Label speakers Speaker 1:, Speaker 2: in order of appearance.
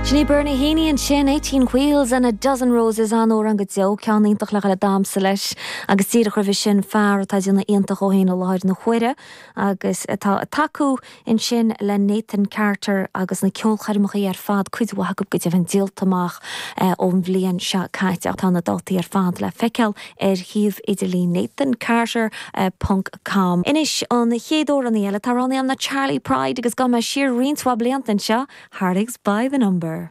Speaker 1: Sin í Bernie Heaney ansin, 18 Wheels and a Dozen Roses, an-amhrán go deo, ceann iontach le dhul ag damhsa leis agus díreach roimhe sin fear atá ag déanamh iontach dhó féin i láthair na huaire agus atá ag tacú ansin le Nathan Carter agus na ceolchoirmeacha ar fad, cuid mhaith acu go deimhin díolta amach ón bhliain seo caite. Tá na dátaí ar fad le feiceáil ar shuíomh idirlín nathancarter ponc com. Anois an chéad amhránaí eile atá roghnaithe agam ná Charley Pride agus gabhfaidh mé siar roinnt mhaith blianta anseo, Heartaches by the Number.